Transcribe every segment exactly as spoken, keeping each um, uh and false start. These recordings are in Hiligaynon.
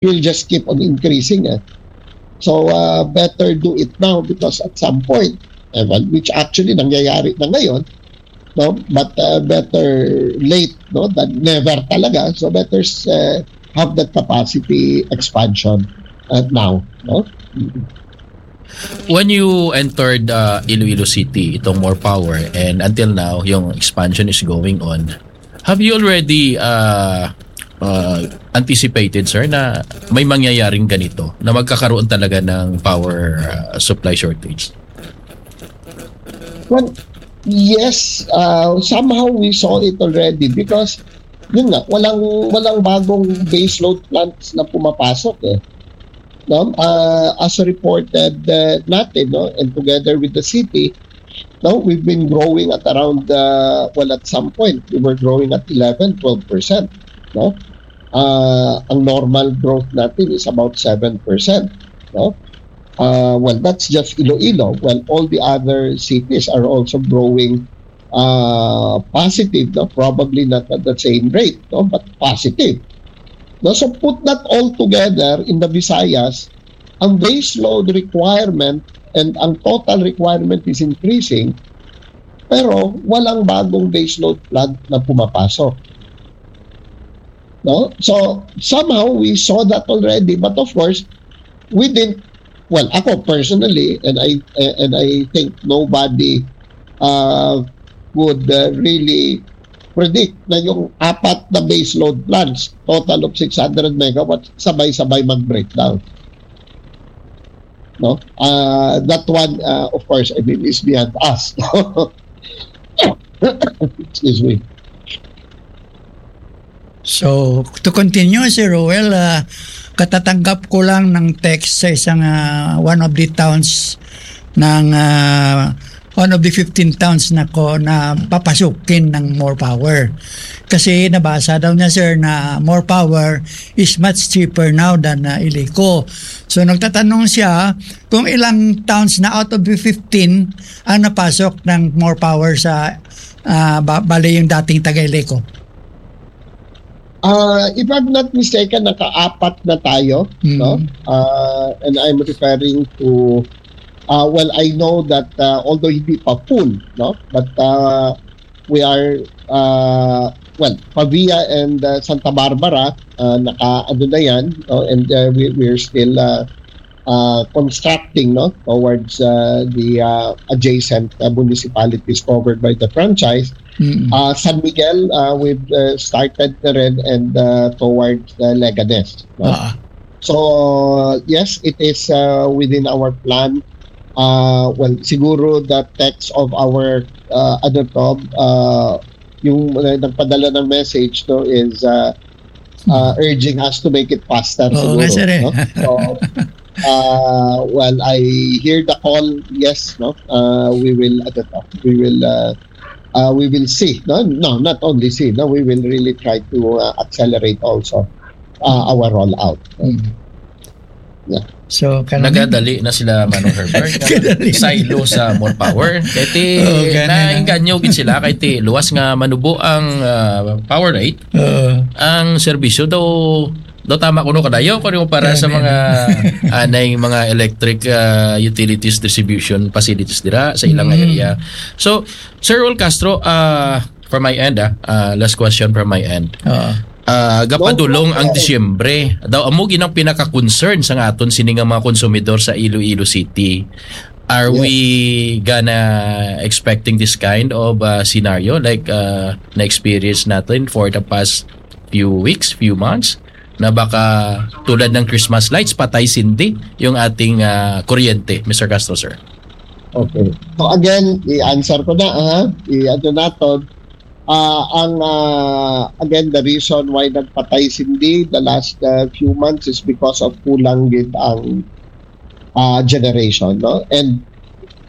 will just keep on increasing. Eh. So, uh, better do it now because at some point, eh, well, which actually nangyayari na ngayon, no? But uh, better late, no, than never talaga. So better uh, have that capacity expansion uh, now, no? When you entered uh, Iloilo City, itong More Power, and until now, yung expansion is going on, have you already uh, uh, anticipated, sir, na may mangyayaring ganito, na magkakaroon talaga ng power uh, supply shortage? Well, yes, uh, somehow we saw it already because yun nga, walang walang bagong baseload plants na pumapasok eh. No? Uh, as reported uh, natin, no, and together with the city, no, we've been growing at around uh, well, at some point we were growing at eleven, twelve percent, no? Uh, ang normal growth natin is about seven percent, no? Uh, well, that's just Iloilo. Well, all the other cities are also growing uh, positive, no? Probably not at the same rate, no? But positive. No? So put that all together in the Visayas, ang baseload requirement and ang total requirement is increasing, pero walang bagong baseload plant na pumapasok. No? So somehow we saw that already, but of course, we didn't, well, ako personally, and I and I think nobody uh, would uh, really predict na yung apat na baseload plants, total of six hundred megawatts, sabay-sabay mag-breakdown. No? Uh, that one, uh, of course, I mean, is beyond us. Excuse me. So, to continue, Sir Roel, uh, katatanggap ko lang ng text sa isang uh, one of the towns ng uh, one of the fifteen towns na ko na papasukin ng More Power. Kasi nabasa daw niya, sir, na More Power is much cheaper now than uh, Ilico. So nagtatanong siya kung ilang towns na out of the fifteen ang napasok ng More Power sa uh, bali yung dating taga Ilico. Uh, if I'm not mistaken, nakaapat na tayo, mm-hmm. no? Uh, and I'm referring to uh, well, I know that uh, although hindi pa full, no, but uh, we are uh, well, Pavia and uh, Santa Barbara uh, naka ano na yan, no, and uh, we we're still uh, uh, constructing, no, towards uh, the uh, adjacent uh, municipalities covered by the franchise. Mm-hmm. Uh, San Miguel, uh, we've uh, started na rin and uh, towards uh, Leganes. No? Uh-huh. So yes, it is uh, within our plan. Uh, well, siguro the text of our uh, ano to, uh, yung uh, nagpadala ng message to is uh, uh, urging us to make it faster. Oo, siguro, sir, eh. No? So, uh, well, I hear the call. Yes, no. Uh, we will, ano to, we will uh, uh, we will see. No, no, not only see. No, we will really try to uh, accelerate also uh, our rollout. Mm. Yeah. So, kanang nagadali na sila, Manong Herbert. Silo sa More Power. Kay ti, oh, nainganyo gid sila kay ti luwas nga manubo ang uh, power rate. Uh, ang serbisyo daw daw tama kuno kadayo kuno para sa mga anay mga electric uh, utilities distribution facilities dira sa ilang mm. area. So, Sir Rol Castro, uh, from my end, ah, uh, last question from my end. Uh, uh, gapadulong ang Disyembre. Daw amo ginang pinaka-concern sa aton sini nga mga konsumidor sa Iloilo City. Are yes. we gonna expecting this kind of uh, scenario like uh, na-experience natin for the past few weeks, few months? Na baka tulad ng Christmas lights, patay sindi yung ating uh, kuryente, Mister Castro, sir? Okay. So again, i-answer ko na, ha? I-ano nato, uh, ang uh, again, the reason why nagpatay sindi the last uh, few months is because of kulang gid ang uh, generation, no? And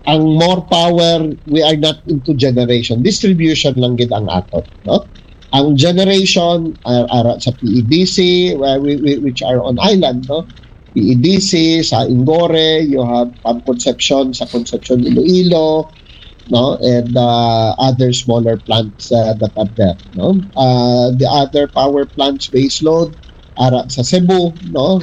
ang More Power, we are not into generation, distribution lang gid ang aton, no? Ang generation uh, ara sa P E D C, uh, we, we, which are on island, no? P E D C, sa Ingore, you have Pam Concepcion sa Concepcion Iloilo, no, and uh, other smaller plants uh, that are there, no. Uh, the other power plants baseload ara sa Cebu, no?